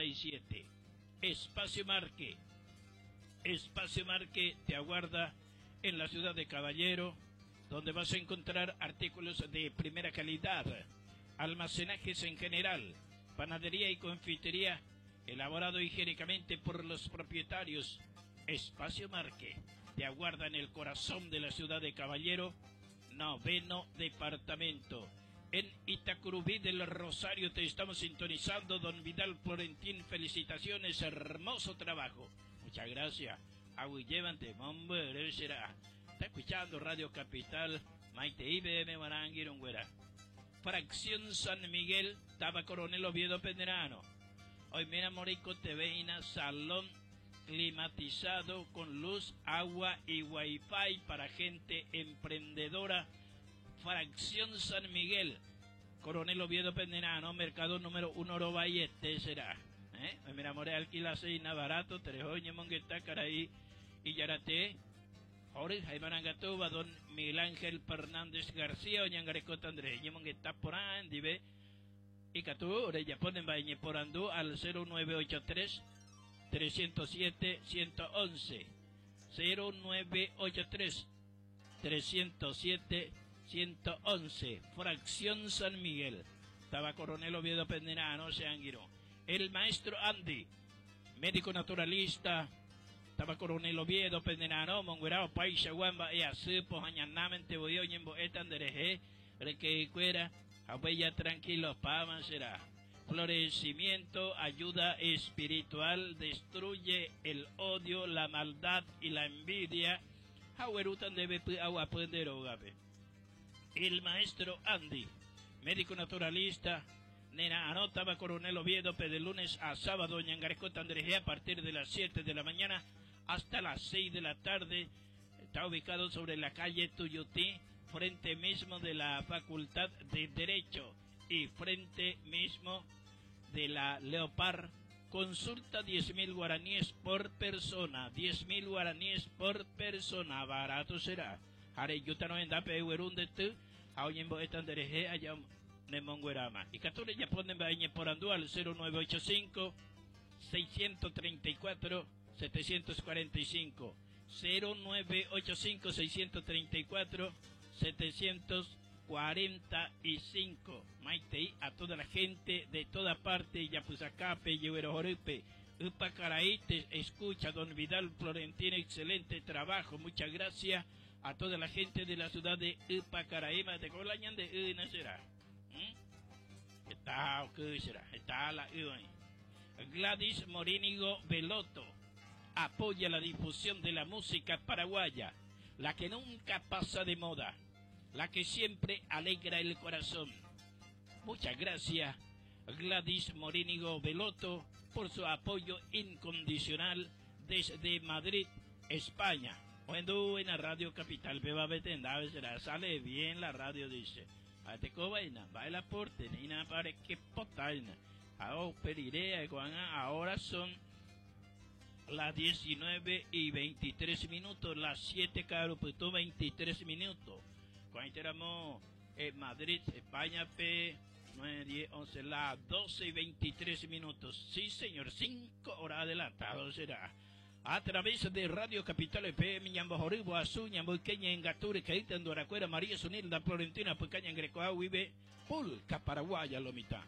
87. Espacio Marque. Espacio Marque te aguarda en la ciudad de Caballero, donde vas a encontrar artículos de primera calidad, almacenajes en general, panadería y confitería, elaborado higiénicamente por los propietarios. Espacio Marque te aguarda en el corazón de la ciudad de Caballero, noveno departamento. En Itacurubí del Rosario te estamos sintonizando, don Vidal Florentín. Felicitaciones, hermoso trabajo. Muchas gracias. Agüillevante, mombre, será. Está escuchando Radio Capital, Maite IBM Maranguirungüera. Fracción San Miguel, Taba Coronel Oviedo Pedrano. Hoy mira Morico TV salón climatizado con luz, agua y wifi para gente emprendedora. Fracción San Miguel, Coronel Oviedo Penderano, mercado número 1 Robayete será. ¿Eh? Mira, more alquila seina barato, trejoño, mongueta, caraí y yarate. Jorge Jaime Arangatuba, don Miguel Ángel Fernández García, Oñangarecota Andrés, Mongueta por Andive, y Catú, Orella ponen Bañe por Andú al 0983 307 111. 0983 307 111. Fracción San Miguel. Estaba Coronel Oviedo Penderano, Seanguiro. El maestro Andy, médico naturalista, estaba Coronel Oviedo Penderano, Monguerao, Paisa, Guamba, y Asipo, Añanamen, Teboyo, Ñembo, Etandereje, Requecuera, Abuella, tranquilo, Pama será. Florecimiento, ayuda espiritual, destruye el odio, la maldad y la envidia. Jahuerutan debe agua El maestro Andy, médico naturalista, Nena anotaba Coronel Oviedo, de lunes a sábado, Ñangarecota Andrejea, a partir de las 7 de la mañana hasta las 6 de la tarde. Está ubicado sobre la calle Tuyutí, frente mismo de la Facultad de Derecho y frente mismo de la Leopard. Consulta 10.000 guaraníes por persona, 10.000 guaraníes por persona, barato será. Hareyuta no endape de tu, haoyembo etandereje allá nemonguerama. Y catore ya ponen bañe por andú al 0985 634 745 0985 634 745 Maite a toda la gente de toda parte, Yapuzacape, Yehuerojoripe, Upacaraí, te escucha don Vidal Florentino, excelente trabajo, muchas gracias a toda la gente de la ciudad de Upacaraí, de Colañan de Una será. ¿Mm? Está, ¿qué será? Está la Gladys Morínigo Veloto apoya la difusión de la música paraguaya, la que nunca pasa de moda, la que siempre alegra el corazón. Muchas gracias, Gladys Morínigo Veloto, por su apoyo incondicional desde Madrid, España. Cuando en la Radio Capital, beba será, sale bien la radio, dice. Ate cobaina, va el aporte, ni nada para que potaina. Ahora son las 19 y 23 minutos, las 7 caro, pues 23 minutos. Cuando éramos en Madrid, España, P, 9, 10, 11, las 12 y 23 minutos. Sí, señor, 5 horas adelantado será. A través de Radio Capital FM, Ñambo Joribo, Azul, Ñambo Queña, Engature, Caíta, Andoracuera, María Sunilda, Florentina, Pucaña, Grecoa, Vive, Pulca, Paraguaya, Lomita.